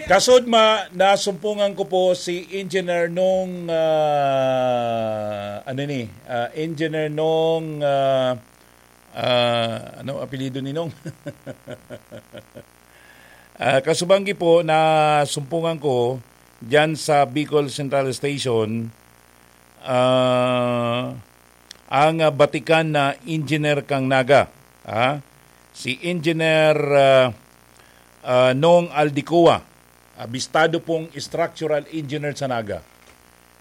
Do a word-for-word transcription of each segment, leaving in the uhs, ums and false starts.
Kasudma, nasumpungan ko po si Engineer Nong, ah, ano ni, ah, Engineer Nong, ah, ah, ano apelyido ni Nong? Ah, kasubanggi po, nasumpungan ko diyan sa Bicol Central Station, ah, ang, ah, batikan na engineer kan Naga, ah, si Engineer, ah, ah, Nong Aldicoa, abistado pong structural engineer sa Naga.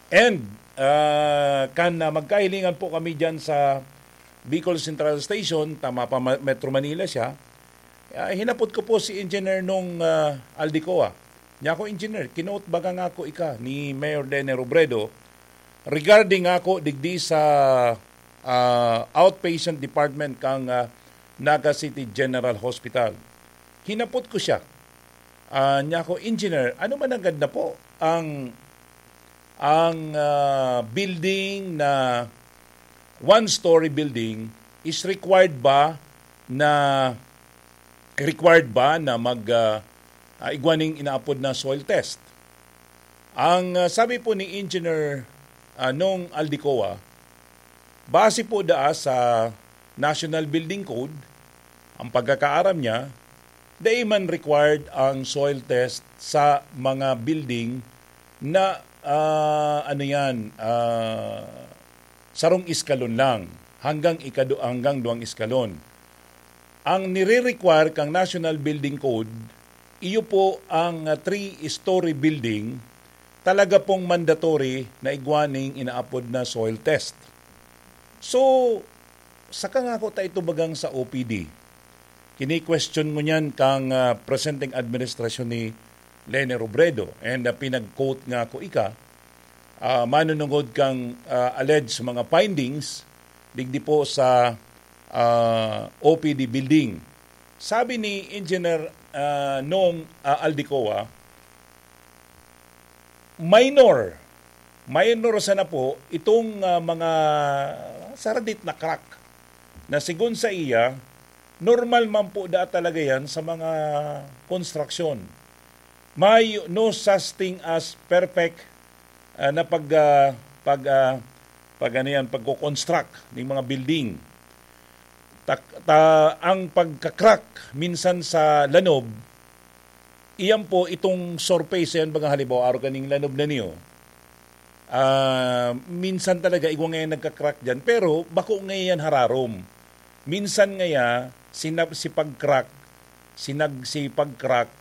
And, ah, kan, ah, magkahilingan po kami diyan sa Bicol Central Station, tama pa, Ma-, Metro Manila siya, ah, hinapot ko po si Engineer Nong, ah, Aldicoa. Niya ako, "Engineer, kinote baga ngako ika ni Mayor Lene Robredo regarding ako digdi sa, ah, outpatient department kang, ah, Naga City General Hospital." Hinapot ko siya. Ah, niya ako, "Engineer, ano man nanggad na po ang, ang, ah, building na one-story building is required ba na, required ba na mag, ah, ah, igwa ning inaapod na soil test?" Ang, ah, sabi po ni Engineer, ah, Nong Aldicoa, base po daa sa National Building Code, ang pagkakaaram niya, dai man required ang soil test sa mga building na, ah, ano yan, ah, sarong eskalon lang, hanggang ikadu-, hanggang duwang eskalon. Ang nire-require kang National Building Code, iyo po ang, ah, three-story building, talaga pong mandatory na igwa ning inaapod na soil test. So, saka ngako ta ito bagang sa O P D. Kini-question ngunyan kang, ah, presenteng administrasyon ni Lene Robredo, and, ah, pinag-quote ngako ika, ah, manunungod kang, ah, alleged mga findings digdi po sa, ah, O P D building. Sabi ni Engineer, ah, Nong, ah, Aldicoa, minor, minor sana po itong, ah, mga saradit na crack na, sigon sa iya, normal man po daa talaga yan sa mga konstruksyon. May no such thing as perfect, ah, na pag, ah, pag, ah, pag ano yan, pagko-construct ng mga building. Tak-, ta-, ang pagka-crack minsan sa lanob, iyan po itong surface yan, baga halimbawa, arog kaning lanob na niyo. Ah, minsan talaga, igwa ngayon nagka-crack dyan, pero bako ngayon hararom. Minsan ngaya, sinab-, si pag-crack, sinag-, si pag-crack,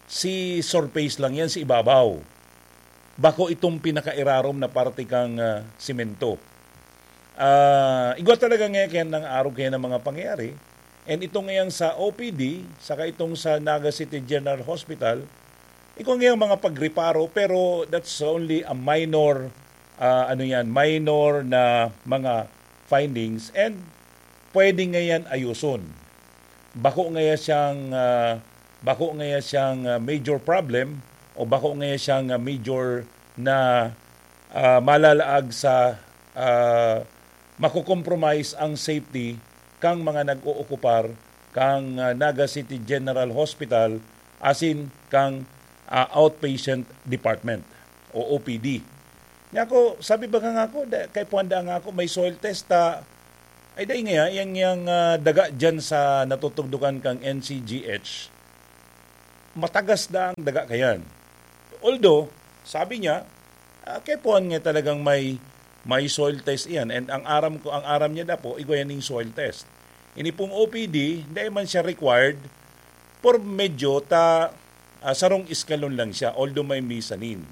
si surface lang yan, si ibabaw. Bako itong pinakairarom na parte kang, ah, simento. Ah, igwa talaga ngayon kaya nang arog kaya ng mga pangyayari. And itong ngayang sa O P D, saka itong sa Naga City General Hospital, igwa ngayang mga pagreparo, pero that's only a minor, ah, ano yan, minor na mga findings, and pwede ngayon ayuson. Bako ngaya siyang, ah, bako ngaya siyang, ah, major problem o bako ngaya siyang, ah, major na, ah, malalaag sa, ah, mako-compromise ang safety kang mga nag-ookupar kang, ah, Naga City General Hospital asin kang, ah, outpatient department o O P D. Niya ako, sabi baga ngako, da-, kay puwanda ngako, may soil test ta, ay, dai ngaya, yang, yang, ah, daga diyan sa natutugdukan kang N C G H, matagas na ang daga kayan. Although, sabi niya, ah, kay puwan nga talagang may, may soil test iyan. And ang aram ko, ang aram niya dapo, igwa yan yung soil test. Ini pong O P D, dai man siya required, por medyo ta, ah, sarong eskalon lang siya, although may mezzanine.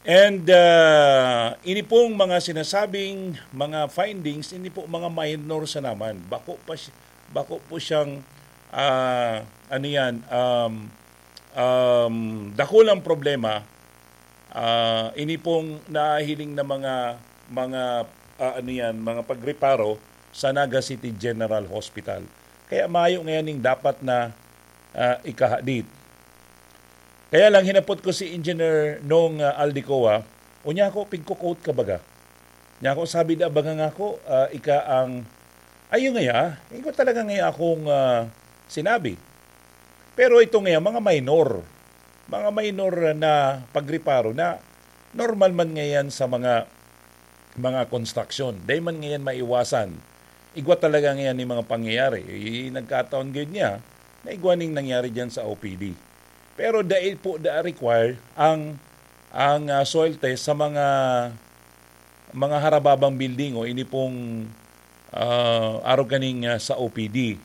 And, ah, ini pong mga sinasabing mga findings, ini po mga minor sa naman. Bako pa si-, bako po siyang, ah, ano yan, um, um, dakulang problema. Ah, ini pong nahiling na mga, mga, ah, ano yan, mga pagreparo sa Naga City General Hospital. Kaya mayo ngayon ning dapat na, ah, ikahadit. Kaya lang, hinapot ko si Engineer Nong, ah, Aldicoa, unya ako, "Pigko-quote ka baga?" Niya ako, sabi da baga ngako, ah, ika ang, ayun ngaya, ikaw talaga ngaya akong, ah, sinabi. Pero ito ngaya, mga minor. mga minor na pagreparo na normal man ngayon sa mga mga construction. Dai man ngayon maiwasan. Igwa talaga ngayon ni mga pangyayari. I, nagkataon gayud niya na igwa ning nangyari diyan sa O P D. Pero dai po da require ang ang ah, soil test sa mga mga harababang building o ini pong ah, arog kaning ah, sa O P D.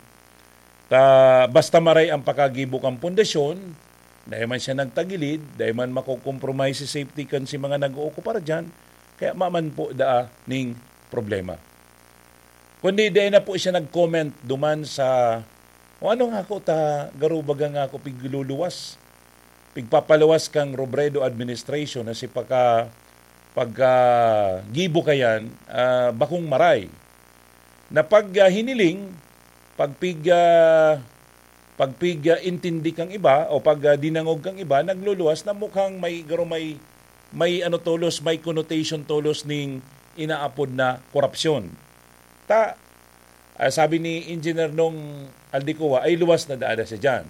Ta basta maray ang pakagibo kan pundasyon, dai man siya nagtagilid, dai man makokompromise si safety kan si mga nag-ookupar diyan, kaya maman po daa ning problema. Kundi dai na po siya nag-comment duman sa, "O ano nga ako ta, garubaga nga ako pigluluwas, pigpapaluwas kang Robredo administration na si paka, pagkagibo kayan, ah, bakong maray." Na pag ah, hiniling, pagpig ah, pagpig ah, intindi kang iba o pag ah, dinangog kang iba, nagluluwas na mukhang may garo may may ano tolos, may connotation tolos ning inaapod na korupsyon. Ta ah, sabi ni Engineer Nong Aldecoa, ay luwas na daada siya diyan.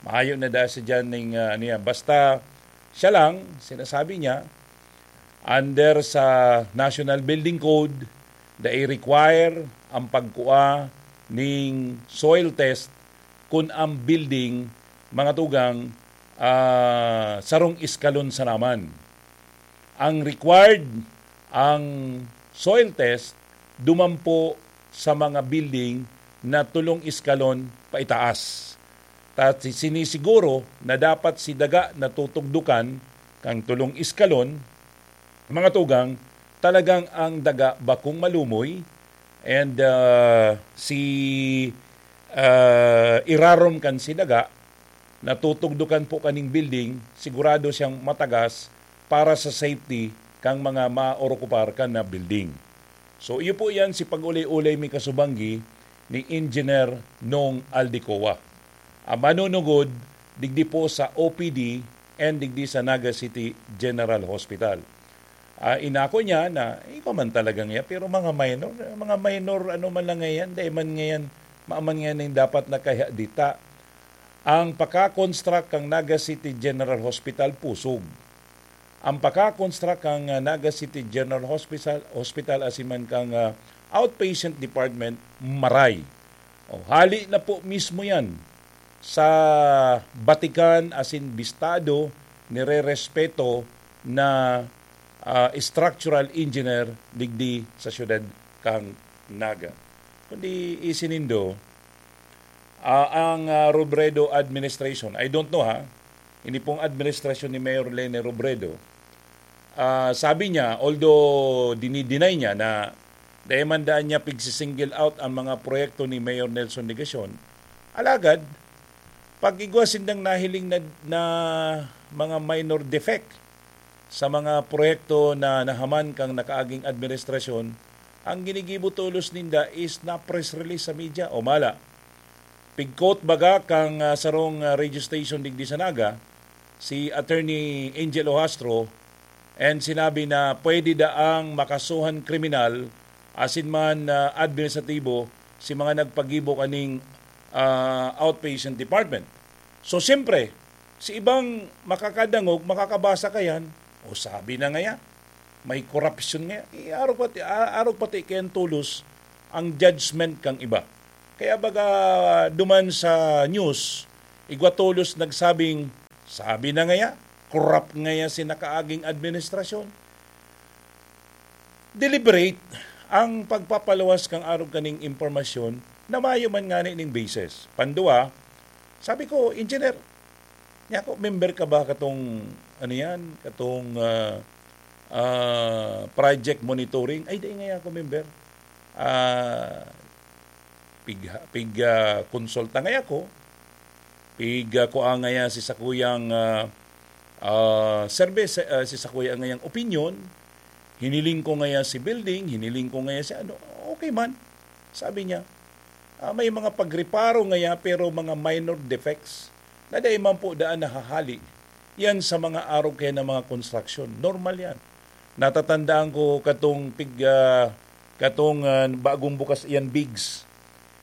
Mahayo na daada siya diyan ning ah, ano yan. Basta siya lang, sinasabi niya, under sa National Building Code, dai require ang pagkua ning soil test kun ang building, mga tugang, ah, sarong eskalon sa naman. Ang required, ang soil test, dumampo sa mga building na tulong eskalon paitaas. Ta si, sinisiguro na dapat si daga na tutugdukan kang tulong eskalon, mga tugang, talagang ang daga bakong malumoy and ah, si ah, irarom kan si daga na tutugdukan po kaning building, sigurado siyang matagas para sa safety kang mga maorokupar kan na building. So, iyo po yan si pag-ulay-ulay mi kasubanggi ni Engineer Nong Aldecoa. Ang manunugod, digdi po sa O P D and digdi sa Naga City General Hospital. Ah, inako niya na, ikaw man talaga ngayon, pero mga minor, mga minor, ano man lang ngayon, dahil man ngayon, maaman ngayon yung dapat nakaya dita. Ang pagka-construct kang Naga City General Hospital, pusog. Ang pagka-construct kang ah, Naga City General Hospital, Hospital asin man kang ah, outpatient department, maray. O, hali na po mismo yan sa batikan asin bistado, nirerespeto na ah, structural engineer digdi sa siyudad kang Naga. Kundi isinindo, ah, ang ah, Robredo administration, I don't know ha, ini pong administrasyon ni Mayor Leni Robredo, ah, sabi niya, although dinideny niya na dai man daan niya pigsi-single out ang mga proyekto ni Mayor Nelson Legacion, alagad, pag igwa sindang nahiling na, na mga minor defect sa mga proyekto na nahaman kang nakaaging administrasyon, ang ginigibo tolos ninda is na press release sa media o mala. Pigkot baga kang ah, sarong ah, radio station digdi sa Naga, si Attorney Angel Ohastro, and sinabi na pwede daang makasuhan kriminal asin man ah, administratibo si mga nagpagibo kaning ah, outpatient department. So, siyempre, si ibang makakadangog, makakabasa kayan, o sabi na ngaya, may korupsyon ngaya. Iarog pati, a- arog pati kayan tolos ang judgment kang iba. Kaya baga duman sa news, igwa tolos nagsabing, sabi na ngaya, corrupt ngaya si nakaaging administrasyon. Deliberate ang pagpapaluwas kang arog kaning impormasyon na mayo man ngani ning basis. Pandua, sabi ko, "Engineer, niya ako, member ka ba katong, ano yan, katong ah, ah, project monitoring?" "Ay, dai ngaya ako member. Ah, pig, pig ah, konsulta ngaya ako. Pig ah, kua ngaya si sakuyang ah, ah, service, ah, si sakuya ngayang opinion. Hiniling ko ngaya si building, hiniling ko ngaya si ano, okay man." Sabi niya, ah, may mga pagreparo ngaya pero mga minor defects na dai man po daan nahahali yan sa mga arog kaya ng mga konstruksyon. Normal yan. Natatandaan ko katong pig, ah, katong ah, bagong bukas yan bigs.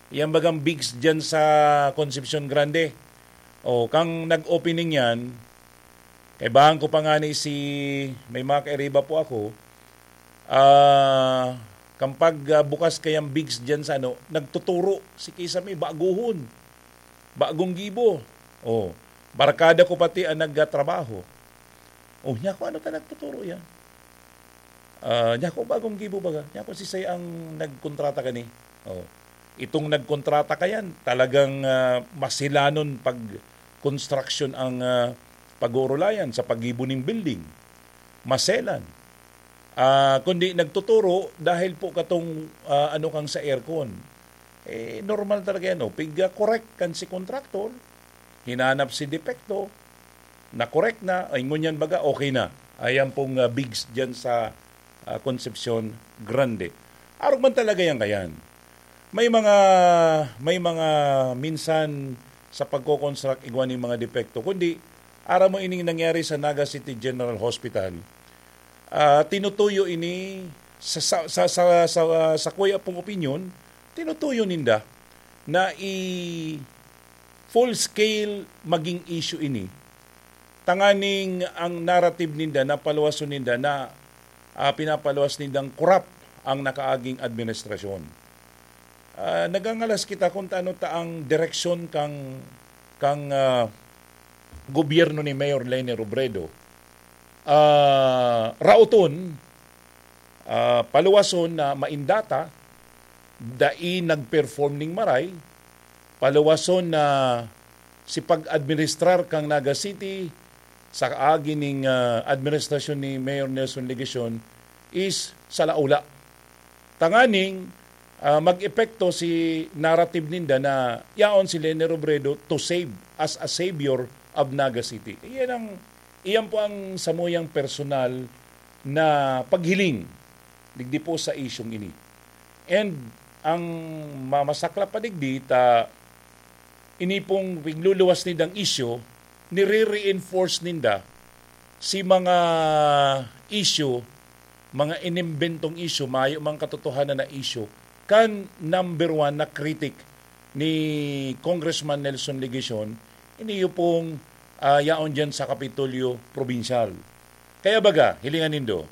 Yan bagang bigs dyan sa Concepcion Grande. O, kang nag-opening yan, Kaibahan ko pa nga ni si, may mga kairiba po ako, ah, kampag, ah, bukas kayang bigs dyan sa ano, nagtuturo si kisame, baguhon, bagong gibo. Oh, barkada ko pati ang nagtrabaho. Oh, niya ko, ano ta nagtuturo yan? Ah, niya ko, bagong gibo baga. Niya ko, si Say ang nagkontrata kani. Oh. Itong nagkontrata kayan, talagang, ah, masilanon pag construction ang, ah, pag-uurulayan sa paggibo ning building. Maselan. Ah, kundi nagtuturo dahil po katong, ah, ano kang sa aircon. Eh, normal talaga yan, oh. Pig, ah, correct kan si contractor, hinanap si depekto, na-correct na, ay ngunyan baga, okay na. Ayan pong, ah, bigs dyan sa, ah, Concepcion Grande. Arog man talaga yan kayan. May mga, may mga minsan sa pagko-construct igwa ning mga depekto, kundi aram mo ining nangyari sa Naga City General Hospital. Ah, tinutuyo ini sa, sa, sa, sa, sa, sa kuya pong opinyon, tinutuyo ninda na i-full scale maging issue ini. Tanganing ang narrative ninda, napaluwason ninda na, ah, pinapaluwas nindang korap ang nakaaging administrasyon. Ah, nagangalas kita kung ano ta ang direksyon kang, kang, ah, gobyerno ni Mayor Leni Robredo. Ah, raoton, ah, paluwason na maindata, dai nag-perform ning maray, paluwason na si pag-administrar kang Naga City sa kaagi ning, ah, administrasyon ni Mayor Nelson Legacion is salaula. Tanganing, ah, mag-epekto si narrative ninda na yaon si Leni Robredo to save, as a savior of Naga City. Iyan ang, iyan po ang samuyang personal na paghiling digdi po sa isyong ini. And ang mamasaklap pa digdi ta ini pong pigluluwas nindang isyu, nire-reinforce ninda si mga isyu, mga inimbentong isyu, mayo mang katotohanan na isyu, kan number one na critic ni Congressman Nelson Legacion, iniyo pong, ah, yaon dyan sa Kapitolyo Probinsyal. Kaya baga, hilingan nindo,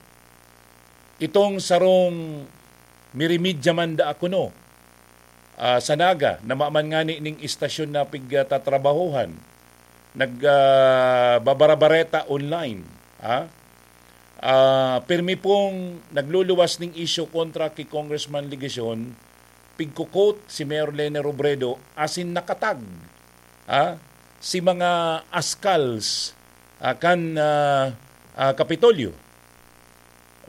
itong sarong mirimidya man daa kuno, ah, sa Naga, na maman ngani ning istasyon na pigtatrabahohan, nag, ah, babarabareta online, ha? Ah, pirmi pong nagluluwas ning isyu kontra ki Congressman Legacion, pigko-quote si Mayor Leni Robredo, asin nakatag, ha? Si mga askals, ah, kan, ah, ah, Kapitolyo.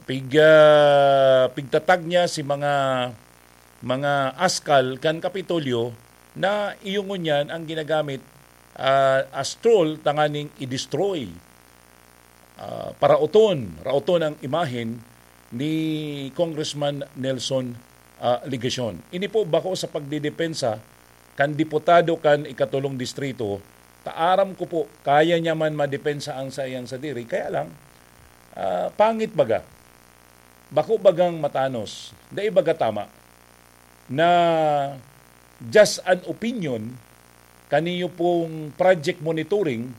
Pig, ah, pigtatag niya si mga, mga askal kan Kapitolyo na iyo ngunyan ang ginagamit, ah, as tool tanganing i-destroy, ah, paraoton, raoton ang imahen ni Congressman Nelson, ah, Legacion. Ini po bako sa pagdidepensa kan diputado kan ikatulong distrito, ta aram ko po, kaya niya man madepensa ang saiyang sadiri. Kaya lang, ah, pangit baga. Bako bagang matanos. Dai baga tama na just an opinion kaniyo pong project monitoring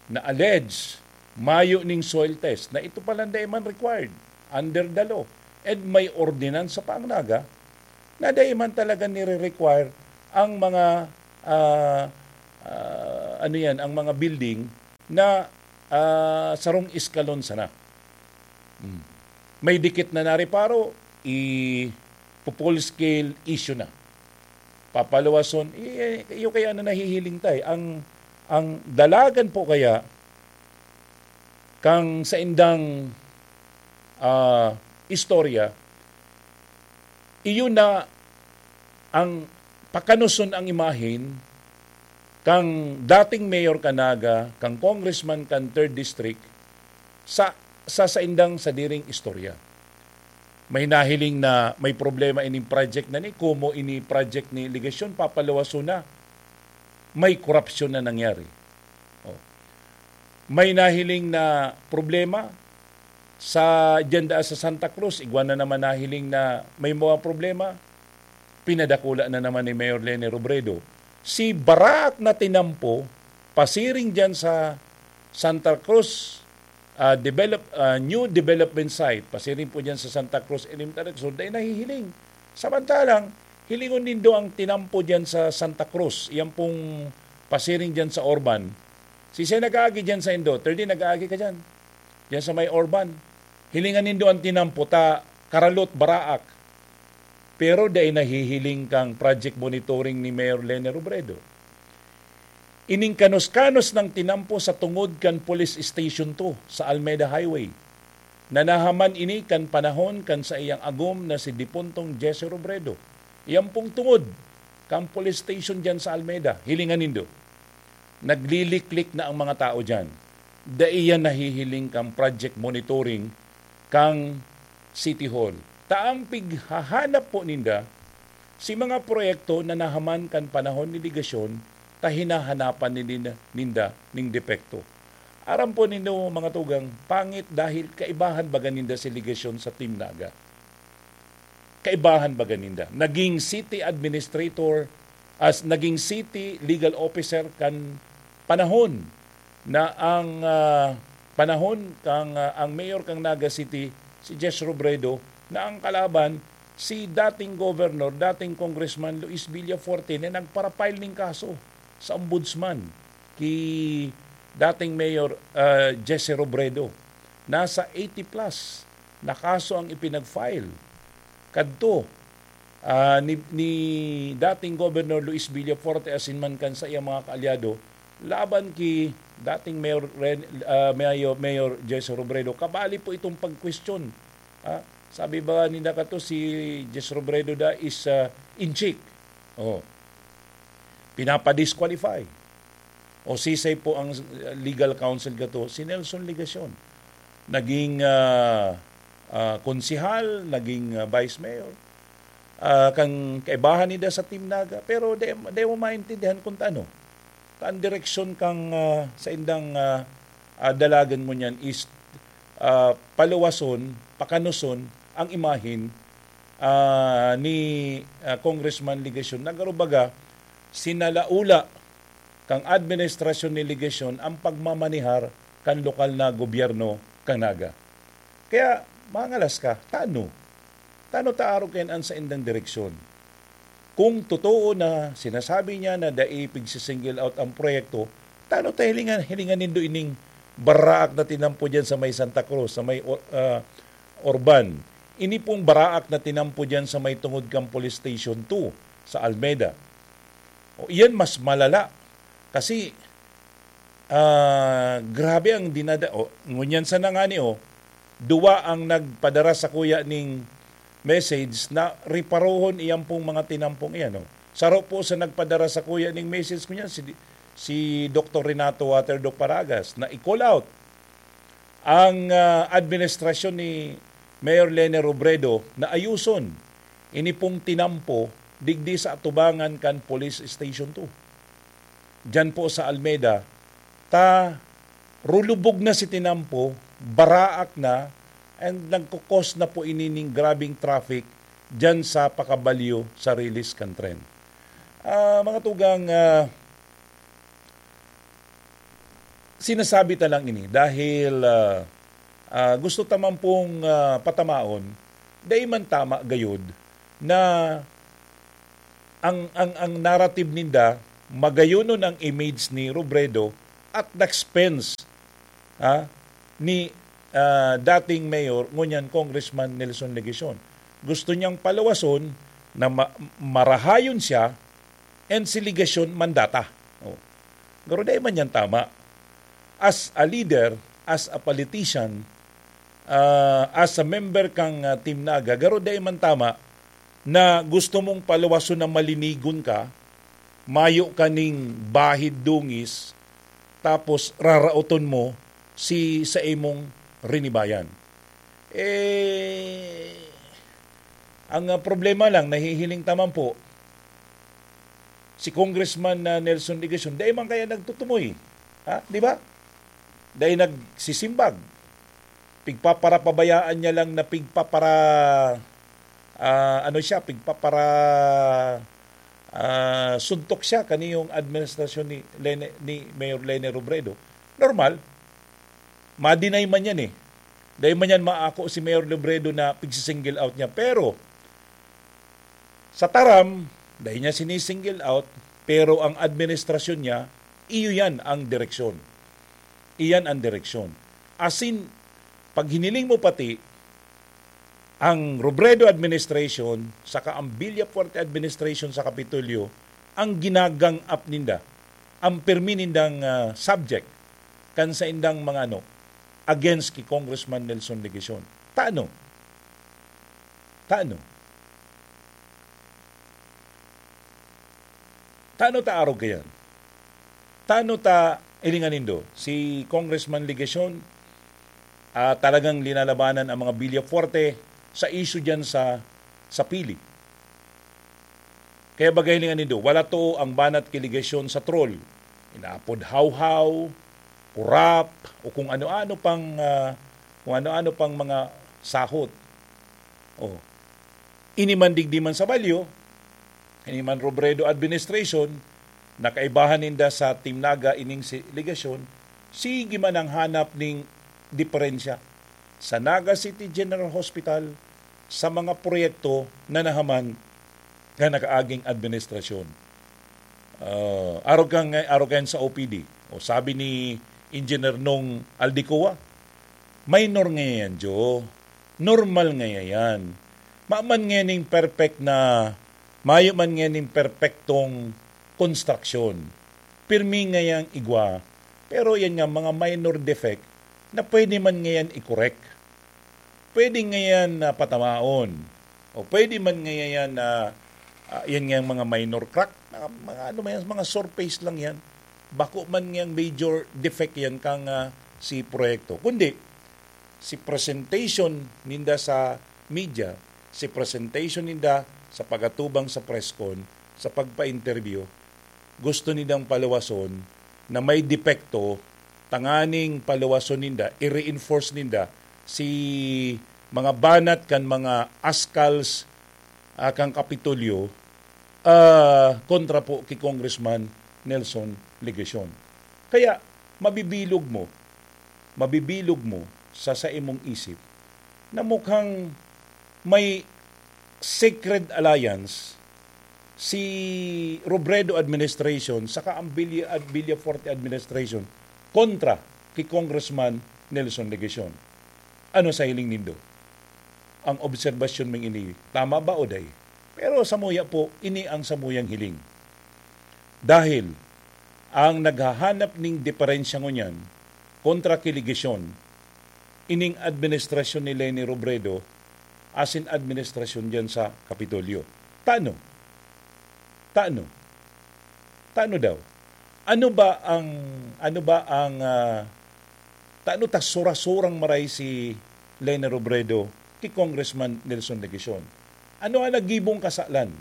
na alleged mayo ning soil test na ito pala dai man required under the law. And may ordinansa pa ang Naga na dai man talaga nire-require ang mga, ah, ah, ano yan, ang mga building na, ah, sarong eskalon sana. Hmm. May dikit na nareparo, i-full scale issue na. Papaluwason, i-, iyo kaya na nahihiling tayo. Ang, ang dalagan po kaya kang saindang, ah, istorya, iyo na ang pakanuson ang imahen kang dating mayor ka Naga, kang congressman kan third district, sa, sa saindang sadiring istorya. May nahiling na may problema ining project na ni, komo ini project ni Legacion, papaluwason na. May korupsyon na nangyari. Oh. May nahiling na problema sa, diyan daa sa Santa Cruz, igwa na naman nahiling na may mga problema, pinadakula na naman ni Mayor Leni Robredo. Si Barak na tinampo, pasiring diyan sa, Santa Cruz, ah, develop, ah, new development site, pasiring po dyan sa Santa Cruz Elementary School, dai nahihiling. Samantalang, hilingon nindo ang tinampo dyan sa Santa Cruz, yan pong pasiring dyan sa Orban. Sisay nag-aagi dyan sa indo? Thirty, nag-aagi ka dyan. Dyan sa may Orban. Hilingan nindo ang tinampo, ta karalot, baraak. Pero dai nahihiling kang project monitoring ni Mayor Lene Robredo. Ining kanos-kanos ng tinampo sa tungod kan Police Station two sa Almeda Highway. Nanahaman ini kan panahon kan saiyang agom na si Dipuntong Jesse Robredo. Iyan pong tungod kan police station dyan sa Almeda. Hilingan nindo. Nagliliklik na ang mga tao dyan. Dai yan nahihiling kang project monitoring kang City Hall. Ta ang pighahanap po ninda, si mga proyekto na nahaman kan panahon ni ligasyon, ta hinahanapan ni ninda, ninda ning depekto. Aram po nindo, mga tugang, pangit dahil kaibahan baga ninda si ligasyon sa Team Naga. Kaibahan baga ninda. Naging city administrator, as naging city legal officer kan panahon na ang, ah, panahon kang, ah, ang mayor kang Naga City, si Jess Robredo, na ang kalaban, si dating governor, dating congressman Luis Villafuerte na nagparapile ning kaso sa ombudsman ki dating mayor, ah, Jesse Robredo. Nasa eighty plus na kaso ang ipinag-file kadto, ah, ni, ni dating Governor Luis Villafuerte asin man kan saiyang mga kaalyado laban ki dating Mayor Ren-, ah, Mayor, Mayor Jesse Robredo. Kabali po itong pagkwestiyon. Ah, sabi ba ninda kato, si Jesse Robredo da is, ah, inchik. Oh. Pinapa-disqualify. O sisay po ang, uh, legal counsel kato? Si Nelson Legacion. Naging, ah, ah, konsehal, naging, ah, vice mayor. Ah, kan kaibahan ninda sa Team Naga, pero di, di mo maintindihan kung taano. Ta ang direksyon kang, ah, sa indang, ah, ah, dalagan mo niyan is, ah, paluwason, pakanuson ang imahen, ah, ni, ah, Congressman Legacion. Nagarubaga, sinalaula kan administrasyon ni Legacion ang pagmamanehar kan lokal na gobyerno kan Naga. Kaya, mangalas ka, tano? Tano ta arog kayan an saindang direksyon? Kung totoo na sinasabi niya na dai pigsi-single out ang proyekto, tano ta hilingan, hilingan nindo ining baraak na tinampo diyan sa may Santa Cruz, sa may Or-, ah, Orban? Ini pong baraak na tinampo diyan sa may tungod kan Police Station two sa Almeda. O, iyan mas malala. Kasi, ah, grabe ang dinada-, o, ngunyan sana ngani, o, duwa ang nagpadara sakuya ning message na riparohon iyan pong mga tinampong iyan, o. Saro po sa nagpadara sakuya ning message ngunyan, si, si Doktor Renato Waterdog Paragas, na i-call out ang, ah, administrasyon ni Mayor Lene Robredo na ayuson ini pong tinampo digdi sa atubangan kan Police Station two. Diyan po sa Almeda, ta rulubog na si tinampo, baraak na, and nagkukos na po ini ning grabing traffic diyan sa pakabalyo sa release kan tren. Ah, mga tugang, ah, sinasabi ta lang ini dahil, ah, ah, gusto ta man pong, ah, patamaon, dai man tama gayod na ang, ang, ang narrative ninda, magayonon ang image ni Robredo at na-expense, ha, ni, ah, dating mayor, ngunyan Congressman Nelson Legacion. Gusto niyang paluwason na ma-, marahayon siya and si Legacion mandata. Oh. Pero dai man yan tama. As a leader, as a politician, ah, as a member kang, ah, Team Naga, garo dai man tama na gusto mong paluwason na malinigon ka, mayo ka ning bahid dungis, tapos raraoton mo si sa imong rinibayan. Eh, ang, ah, problema lang, nahihiling ta man po, si Congressman, ah, Nelson Legacion, dai man kaya nagtutumoy. Ha? Di ba? Dai nagsisimbag. Pigpaparapabayaan niya lang na pigpapara-, ah, ano siya, pigpapara-, ah, suntok siya kaniyong administrasyon ni Lene, ni Mayor Lene Robredo. Normal. ma-deny man yan eh. Dahil man yan maako si Mayor Robredo na pigsi-single out niya. Pero, sa taram, dahil niya sini-single out, pero ang administrasyon niya, iyo yan ang direksyon. Iyan ang direksyon. Asin, pag hiniling mo pati, ang Robredo administration saka ang Villafuerte administration sa Kapitolyo ang ginagang up ninda, ang pirmi nindang, ah, subject kan saindang mga ano, against ki Congressman Nelson Legacion. Tano? Tano? Tano ta arog kayan? Tano ta, hilingan nindo, si Congressman Legacion, ah, talagang linalabanan ang mga Villafuerte sa issue diyan sa, sa Pili. Kaya bagay hilingan nindo, wala to ang banat ki Legacion sa troll. Inaapod hawhaw, kurap, o kung ano-ano pang, ah, kung ano-ano pang mga sahot. Oh. Ini man digdi man sa Balyo, ini man Robredo administration, nakaibahan ninda sa Team Naga ining si Legacion, sige man ang hanap ning diferensya sa Naga City General Hospital sa mga proyekto na nahaman na nakaaging administrasyon. Ah, arog kan, arog kan sa O P D. O sabi ni Engineer Nong Aldecoa, minor nga yan, Jo. Normal nga yan. Maman nga ning perfect na, mayo man nga ning perpektong konstruksyon. Pirmi nga yang igwa. Pero yan nga, mga minor defect na pwede man nga yan i-correct. Pwede nga yan, ah, patamaon. O pwede man nga yan, ah, ah, yan nga yung mga minor crack, mga, mga ano man yan, mga surface lang yan. Bako man nga yung major defect yan kang, ah, si proyekto. Kundi, si presentation ninda sa media, si presentation ninda sa pagatubang sa press con, sa pagpa-interview, gusto nindang paluwason na may depekto, tanganing paluwason ninda, i-reinforce ninda si mga banat kan mga askals, ah, kan Kapitolyo, ah, kontra po ki Congressman Nelson Legacion. Kaya, mabibilog mo, mabibilog mo sa saimong isip na mukhang may secret alliance si Robredo administration saka ang Villa-, Villafuerte administration kontra ki Congressman Nelson Legacion. Ano sa hiling nindo? Ang obserbasyon ming ini, tama ba o dai? Pero samuya po, ini ang samuyang hiling. Dahil ang naghahanap ning diferensya ngunyan kontra ki Legacion, ining administrasyon ni Leni Robredo asin administrasyon diyan sa Kapitolyo. Tano? Tano? Tano daw? Ano ba ang, ano ba ang, ah, tano ta sura-surang maray si Leni Robredo ki Congressman Nelson Legacion? Ano ang nagibong kasalan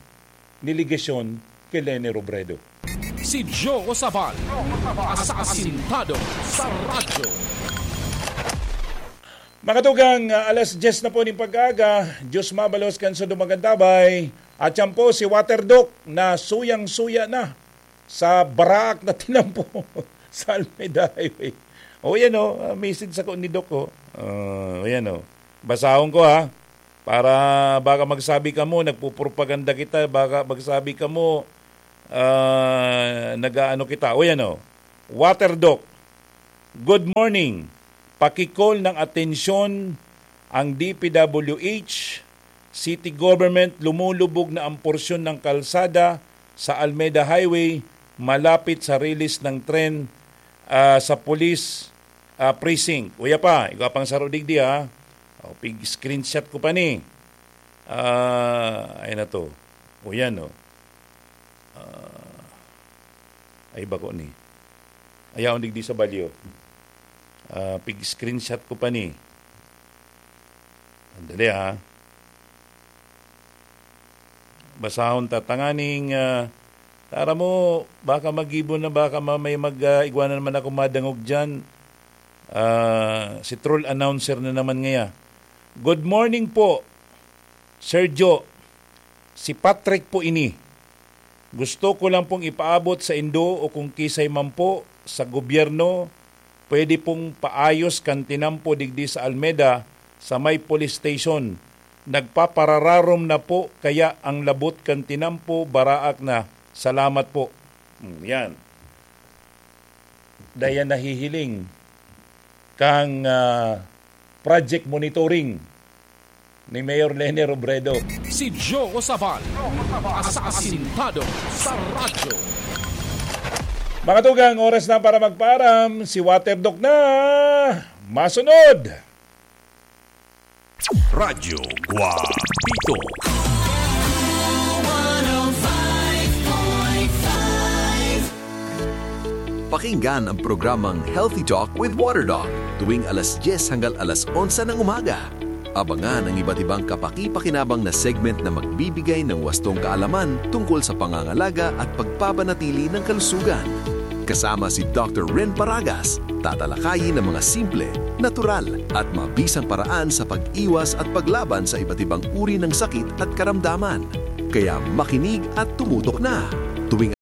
ni Legacion ki Leni Robredo? Si Joe Sabal, asasintado sa radyo. Makatugang, ah, alas diyes na po ning pag-aaga, Diyos mabalos kan sa dumagantabay. At yan po si Water Doc na suyang-suya na sa baraak na tinampo sa Almeda Highway. O yan o, ah, message ako ni Doc o. Ah, o yan o. Basahon ko ha. Para baka magsabi kamo, nagpupropaganda kita, baka magsabi kamo, ah, nag-aano kita. O yan o. Water Doc, good morning. Paki-call ng atensyon ang D P W H, City Government, lumulubog na ang porsyon ng kalsada sa Almeda Highway malapit sa release ng tren, ah, sa police, ah, precinct. Uya pa, igwa pang saro digdi, ha. O, pig-screenshot ko pa ni. Ah, ay na to. O yan, o. Ah, ay bako ni. Ayaw digdi sa balyo. Ah, pig-screenshot ko pa ni. Sandali, ha. Basahon ta tanganing, ah, tara mo, baka magibo na, baka ma-, may mag, ah, igwa na naman ako madangog diyan. Ah, si troll announcer na naman ngaya. Good morning po, Sir Joe. Si Patrick po ini. Gusto ko lang pong ipaabot sa indo o kung kisay man po sa gobyerno pwede pong paayos kan tinampo digdi sa Almeda, sa may police station. Nagpaparararom na po, kaya ang labot kan tinampo, baraak na. Salamat po. Hmm, yan. Dayan nahihiling kang, ah, project monitoring ni Mayor Leni Robredo. Si Joe Sabal, asasintado sa radyo. Mga tugang, oras na para magpaaram. Si Waterdoc na. Masunod. Radyo Guapito. Pakinggan ang programang Healthy Talk with Waterdoc tuwing alas dyes hanggang alas onse ng umaga. Abangan ang iba't ibang kapaki-pakinabang na segment na magbibigay ng wastong kaalaman tungkol sa pangangalaga at pagpapanatili ng kalusugan. Kasama si Doctor Ren Paragas, tatalakayin ang mga simple, natural, at mabisang paraan sa pag-iwas at paglaban sa iba't ibang uri ng sakit at karamdaman. Kaya makinig at tumutok na! Tuwing